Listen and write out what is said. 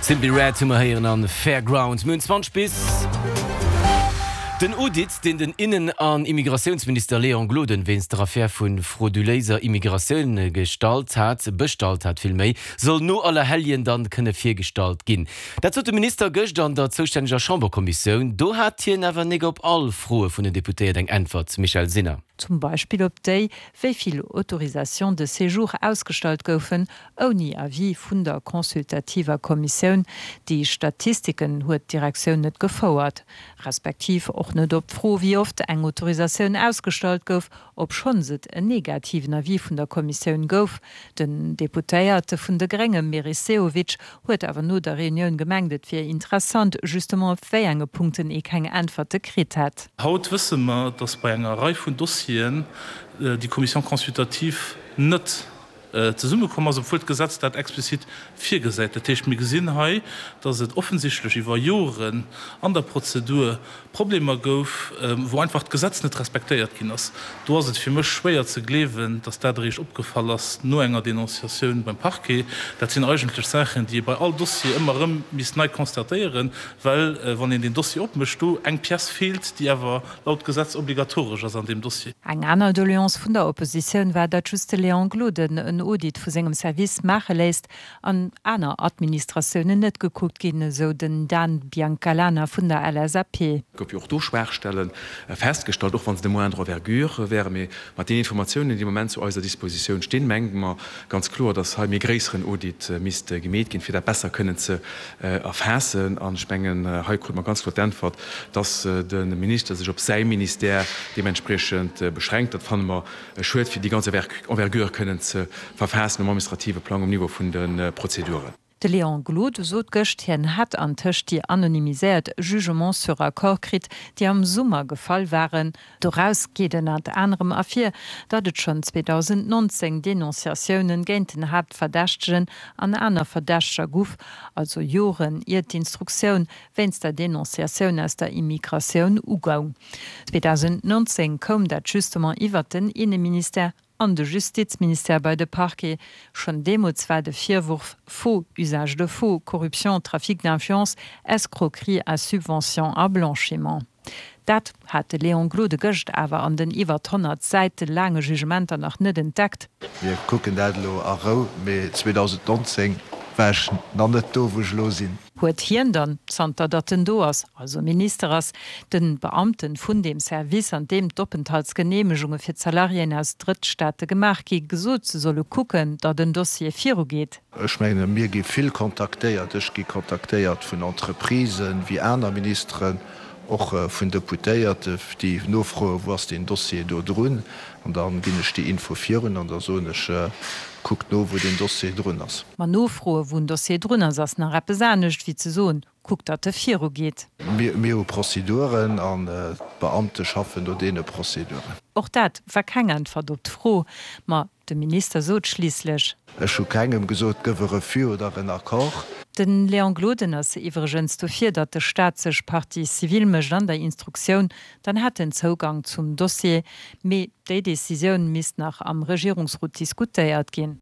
Simply Red hu mer héieren an Fairground. Mir hunn 20 bis. Den Audit, deen den Innen an Immigratiounsminister Léon Gloden wéinst der Affär vu frauduléiser Immigratioun gestallt hat, bestallt hat villméi, soll no Allerhelljen dann kënne virgestallt ginn. Dat sot de Minister gëscht an der zoustänneger Chamberkommissioun. Do hat hien awer nik op all Froe vun den Deputéiert eng Äntwert. Michèle Sinner. Zum Beispill op déi, wéi vill Autorisations de séjour ausgestallt goufen, ouni Avis vun der consultativer Kommissioun. Déi Statistiken huet d'Direktioun net gefouert. Respektiv och net op d'Fro, wéi oft eng Autorisatioun ausgestallt gouf, obschonns et en negativen Avis vun der Kommissioun gouf. Den Deputéierte vun de Grénge Meris Sehovic huet awer no der Reunioun gemengt, et wier interessant, justement op wéi enge Punkten ee keng Äntwerte kritt hätt. Haut wësse mer, datt bei enger Rei vun Dossieren déi Commission consultative net zesummekomm ass, obwuel d'Gesetz dat explizit virgesäit. Dat heescht, mir gesinn hei, datt et offensichtlech iwwer Joren an der Prozedur Problemer gouf, wou einfach d'Gesetz net respektéiert ginn ass. Do ass et fir mech schwéier ze gleewen, datt dat eréischt opgefall ass no enger Denonciatioun beim Parquet. Dat sinn eigentlech Saachen, déi ee bei all Dossier ëmmer erëm misst nei constatéieren, well wann een deen Dossier opmécht, do eng Pièce feelt, déi awer laut Gesetz obligatoresch ass an deem Dossier. Eng aner Doleance vun der Oppositioun war, datt just de Léon Gloden en Audit vu sengem Service maache léisst an aner Administratiounen net gekuckt ginn, esou den Dan Biancalana vun der LSAP. Et gouf jo och do Schwaachstelle festgestallt, och wa se de moindre envergure wären. Mee mat deenen Informatiounen, déi de Moment zu eiser Dispositioun stinn, menge mer ganz kloer, dass hei méi gréisseren Audit misst gemeet ginn, fir dat besser kënnen ze erfaassen. An ech mengen, hei krute mer ganz kloer d'Äntwert, dass de Minister sech op säi Ministère deementspriechend beschränkt. Dat fanne mer Schued, fir déi ganz Envergure kënnen ze verfaassen um administrative Plang, um Niveau vun de Prozeduren. De Léon Gloden sot gëscht, hien hätt antëscht déi anonymiséiert Jugements sur accord kritt, déi am Summer gefall waren. Doraus geet ënnert anerem ervir, datt et schonn 2019 Denonciatiounen géint den Haaptverdächtegen an aner Verdächteger guff, also Joren ier d'Instruktioun wéinst der Denonciatioun aus der Immigratioun ugoung. 2019 koum dat justement iwwert den Inneministère an de Justizministère bei de Parquet. Schonn deemools war de Virwurf faux, usage de faux, corruption, trafic d'influence, escroquerie à subvention a blanchiment. Dat hat de Léon Gloden gëscht awer an den iwwert 100 Säite laange Jugementer nach net entdeckt. Mir kucken dat elo a Rou, mee 2019 war ech nach net do, wou ech elo sinn. Huet hien dann, zanter datt en do ass, also Minister ass, den Beamten vun deem Service, an deem d'Openthaltsgeneemegunge fir d'Salariéen aus Drëttstaate gemaach gi, gesot, se solle kucken, datt en Dossier virugeet? Ech mengen, mir gi vill kontaktéiert. Ech gi kontaktéiert vun Entreprisen, wéi aner Ministeren, och vun Deputéierte, déi nofroen, Wou ass deen Dossier do drun? An da ginn ech déi Info virun an da soen ech, Kuckt no, wou deen Dossier drun ass. Ma nofroen, wou en Dossier drun ass, ass nach eppes anescht, wéi ze soen, Kuckt, datt e virugeet. Mir hu Prozeduren an d'Beamte schaffen no deene Prozeduren. Och dat war keng Äntwert op d'Fro. Ma de Minister sot schliisslech. Ech hu kengem gesot, gëff e Refus oder en Accord. De Léon Gloden ass iwwregens dofir, datt de Staat sech Partie civile mécht an der Instruktioun, dann hätt en Zougang zum Dossier. Mee déi Decisioun misst nach am Regierungsrot diskutéiert ginn.